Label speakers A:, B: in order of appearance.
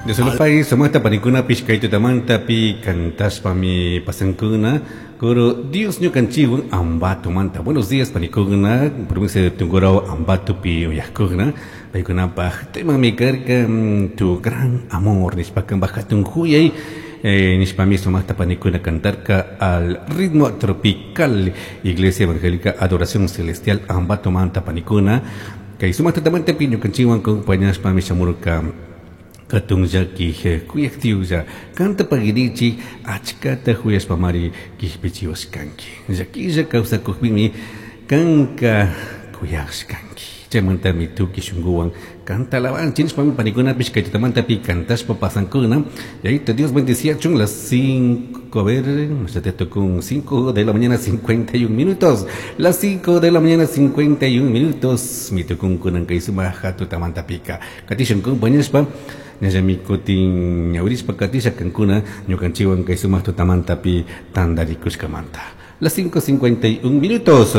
A: Diosolopai sumaqta panikunapish kay tutamantapi cantashpami pasankuna. Kuru Dios ñukanchikwan Ambatomanta. Buenos días, panikuna, provincia de Tungurahua, Ambatopi uyajkuna. Paykunapaj temami karka "Tu gran amor" nishpa, kanpaj hatun huyay nishpami sumaqta panikuna cantarka al ritmo tropical. Iglesia Evangélica Adoración Celestial Ambatomanta panikuna. Kay sumaq tutamantapi ñukanchikwan acompañashpami shamurka. Hatun llaki kuyaj Dioslla, kanta paguirichik, achkata huyashpamari kishpichiwashkanki. Llaquilla kawsakukpimi kanka kuyashkanki. Chaymantami tukuy shunkuwan kanta alabanchik nishpami panikunapish kay tutamantapi cantashpa pasankuna. Yayito Dios bendeciachun. Las 5, a ver, ya te tocó 5 de la mañana 51 minutos. Las 5 de la mañana 51 minutos. Mi tukun kunan kay sumaq tutamantapika. Katishun compañashpa. Ñallami kutin ñawirishpa katisha kankuna ñukanchikwan kay sumaq tutamantapi tantarikushkamanta. Las 5:51 minutos.